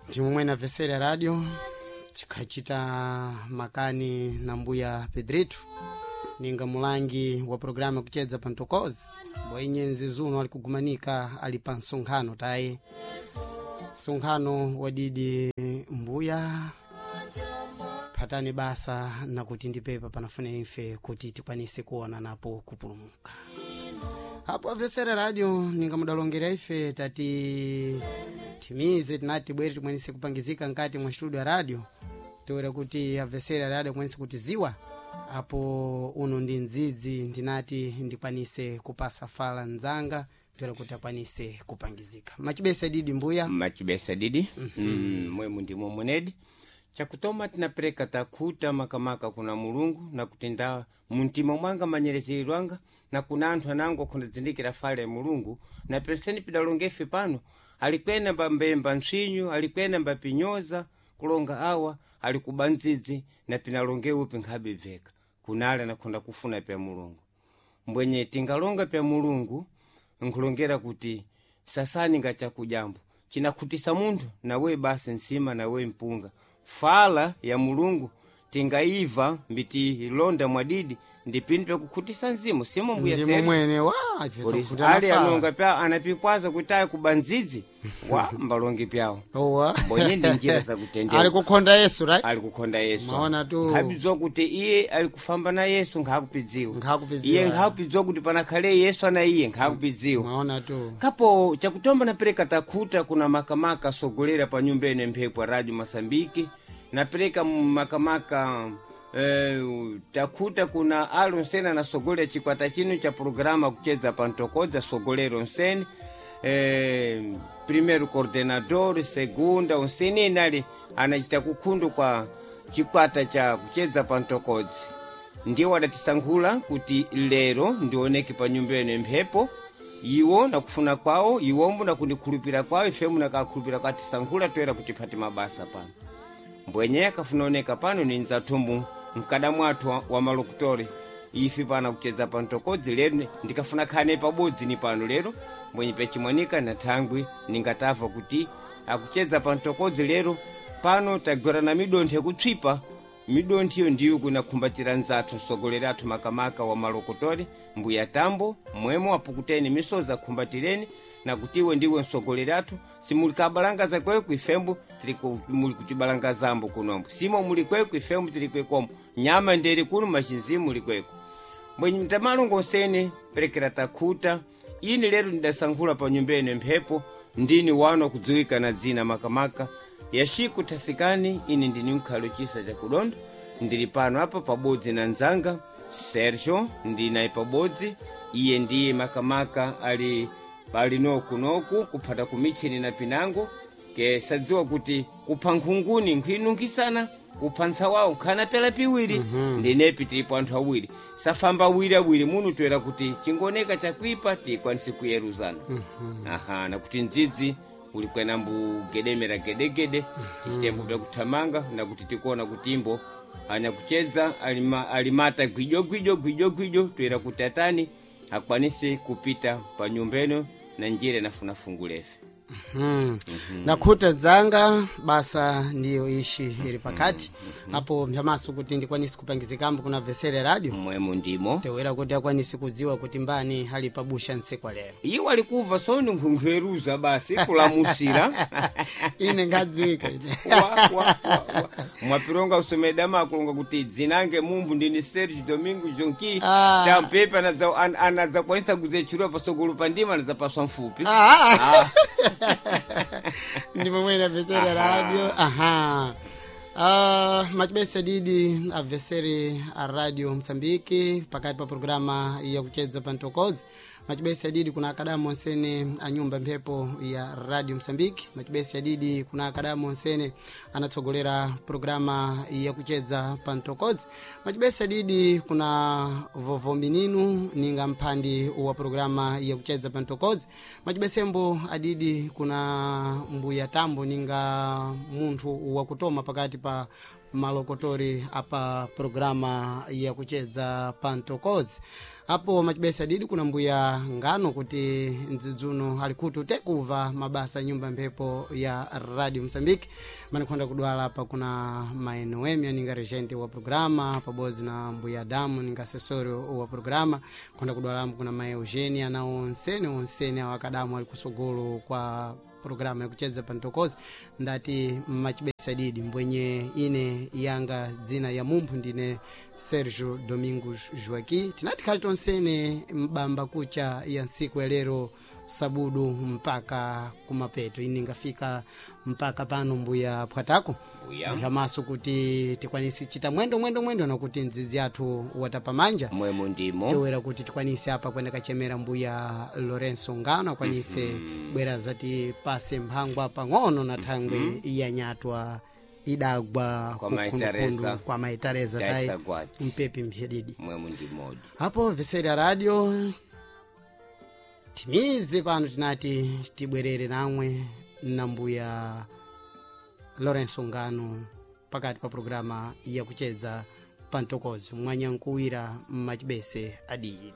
Ndimomwe na vesera ya radio tikhacita makani na mbuya Pedrito ninga mulangi wa programa kuchedza pa Ntokozi bwainyenzi zuno ali kugumanika ali pa msonkhano taye msonkhano wadidi mbuya phatani basa nakuti ndipepa panafuna imfe kuti tikwanise kuona napo kupulumuka apo avesera radio ninga mudalongera ife tati timize tinati tibwere timwenise kupangizika nkati mwa studio ya radio toera kuti avesera radio akwanise kutiziwa apo uno ndi mdzidzi ndinati ndikwanise kupasa fala nzanga toera kuti akwanise kupangizika machibesa didi mbuya Machibesa didi. Mwemu ndimo mwenedi chakutoma tinapereka takhuta makamaka kuna Mulungu na kutinda muntima mwanga manyerezero na kuna anthu anango akhondadzindikira fale ya Mulungu na penseni pidalongefe pano alikwena mbambemba ntsinyu alikwena mbapinyoza kulonga awa ali kuba ndzidzi na pinalongewe pinkhabe bveka kunali anakhonda kufuna pya Mulungu mbwenye tingalonga pya Mulungu nkulongera kuti sasani nga chakujambo chinakhutisa munthu nawe basi nsima nawe mpunga fala ya Mulungu tingaiva mbitilonda mwadidi ndi pinu pyakukhutisa mzimu simo mbuya ndimo Sergio. mwene wa ife Uri- tsakuta ali na fala. anonga pya anapikwaza kuti ayi kuba ndzidzi wa mbalonge pyawo Owa. Mbonye ndi njira zakutendera. ali kukhonda Yesu right ali kukhonda Yesu Maona tu. nkhapidziwa kuti iye ali kufamba na Yesu nkhakupidziwa Nkhakupidziwa. iye nkhakupidziwa kuti panakhale Yesu ana iye nkhakupidziwa maona tu kapo chakutomba napereka takhuta kuna makamaka sogolera pa nyumba ene mphepo ya radio Masambiki napereka makamaka takhuta kuna alo nsene anasogolera chikwata chino cha programa kuchedza pa ntokodza sogolero nsene primeiro coordenador segunda onsene inali anachita kukhundu kwa chikwata cha kuchedza pa ntokodzi ndiwo adatisankhula kuti lero ndioneke pa nyumba ene mphepo iwo nakufuna kwawo iwombo nakundikhulupira kwawo ifemu nakakhulupira kwatisankhula toera kuti phati mabasa pano mbwenye akafuna oneka pano ni nzathumbu mkada mwathu wa malokutori ife pana kuchedza pa ntokodzi lero ndikafuna khane pabodzi ni pano lero mbwenye pechimwanika na thangwi ningatava kuti akuchedza pa ntokodzi lero pano tagwera na midontho yakutswipa midontho iyo ndiyo kunakhumbatira nzathu msogoleri athu makamaka wa malokotori mbuya tambo mwemo apukuteni misozi akhumbatireni nakuti iwe ndiwe msogoleri athu simuli kabalangaza kweku ifembo tili muli kutibalangazambo kunombo simo muli kweku ifembo tili kwekomo nyama nderi kuno machinzimu muli kweku mbwenye mtamalongo onsene perekera takhuta ini lero ndidasankhula pa nyumba ene mphepo ndini wano kudziwika na dzina makamaka yashiku thasikani ini ndini mkhalo chisa chakudondo ndili pano apa pabodzi na nzanga Sergio ndinaye pabodzi iye ndiye makamaka ali pali nokunoku kuphata kumichini na pinango ke sadziwa kuti kupha nkhunguni nkhwinunkhисana kupha ntsawawo nkhana pela piwiri ndinepi tilipo anthu awiri safamba awiri awiri munu toera kuti chingoneka chakuipa tikwanise kuyeruzana aha nakuti ndzidzi uli kwena mbugedemera gedegede tichitembo pyakuthamanga nakuti tikuona kuti imbo anyakuchedza alimata gwijo gwijo gwijo gwijo toera kuti atani akwanise kupita pa nyumba ino na njira inafuna fungu lefe Nakhuta dzanga basa ndiyo ishi ili pakati apo mphamaso kuti ndikwanise kupangizikambo kuna vesere radio mwemo ndimo tewera kuti akwanise kudziwa kuti mbani ali pabusha ntsiku lero iwo alikuva soni nkhunkhweruza basi kulamusira ine ngadziwika ine Wa, wa, wa, wa. mwapironga usomedama akulonga kuti dzinange mumbu ndini Sergio Domingo Jonki Ah. tampepa anadzakwanisa kuzechurwa pasogolo pandima anadzapaswa mfupi Ah. ndi momwe avesere radio aha machibesa didi avesere a radio Msambiki pakati pa programa ya kuchedza pa ntokozi machibesa didi kuna akadamu onsene a nyumba mphepo ya radio Msambiki machibesa didi kuna akadamu onsene anatsogolera programa ya kuchedza pa ntokozi machibesa didi kuna vovo mininu ninga mphandi wa programa ya kuchedza pa ntokozi machibesembo adidi kuna mbuya tambo ninga munthu wakutoma pakati pa malokotori apa programa ya kuchedza pantokozi. Apo machibesa didi kuna mbuya ngano kuti ndzidzuno ali kuti utekuva mabasa nyumba mphepo ya Radio Msambiki. Manikhonda kudwala apa kuna maenoemi aninga regente wa programa pabodzi na mbuya Adamu ninga asesori wa programa. Khonda kudwalamu kuna mai Eugenia na onsene onsene awo akadamu ali kusogolo kwa programa yakuchedza pantokozi. Ndati machibesa didi mbwenye ine yanga dzina ya mumphu ndine Sergio Domingos Joaqui. Tinati khali tonsene mbamba kucha ya ntsiku ya lero sabudu mpaka kumapeto. Ini ngafika mpaka pano mbuya phwatako. Mbuya. Maso kuti tikwanise chita mwendo mwendo mwendo nakuti ndzidzi athu watapamanja Mwemo ndimo. towera kuti tikwanise apa kwenda kachemera mbuya Lorenzo Ngano akwanise bwera zati pase mphangwa pang'ono na thangwe yanyatwa idagwa Kwa Mai kukhundukhundu Teresa. kwa Mai Teresa tai Taisa Gwati. mpepi mphedidi. Mwemo ndimodi. Apo veseri ya radio timize pano tinati tibwerere namwe na mbuya Lorenzo Ngano pakati pa programa yakuchedza pantokozi mwanyankuwira mmachibese adidi.